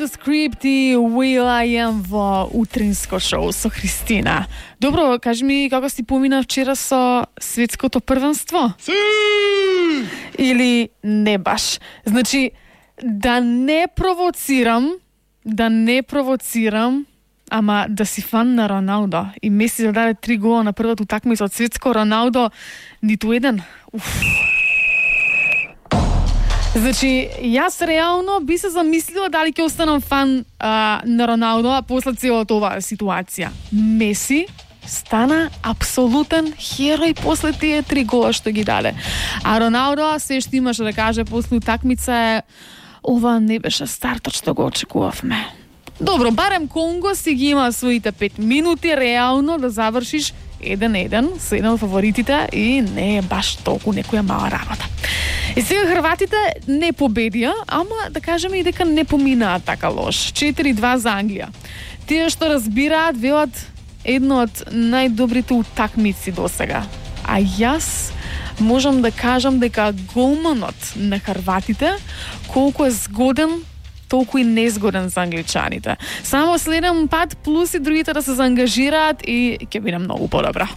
The Script и Will I Am во утринско шоу со Христина. Добро, кажи ми како си помина вчера со светското првенство? Или не баш? Значи, да не провоцирам, ама да си фан на Роналдо. И Меси зададе 3 гола на првата утакмица од светско, Роналдо ниту еден. Значи, јас реално би се замислила дали ќе останам фан на Роналдо после целата оваа ситуација. Меси стана апсолутен херој после тие 3 гола што ги даде. А Роналдо се што имаше да каже после утакмица е: ова не беше стартот што го очекувавме. Добро, барем Конго си ги има своите 5 минути реално да завршиш 1-1 со еден од фаворитите и не е баш толку некоја мала работа. И сега хрватите не победија, ама да кажеме и дека не поминаа така лош. 4-2 за Англија. Тие што разбираат велат едно од најдобрите утакмици досега. А јас можам да кажам дека голманот на хрватите колку е згоден, толку и незгоден за англичаните. Само следен пат плюс и другите да се заангажираат и ќе биде многу подобро.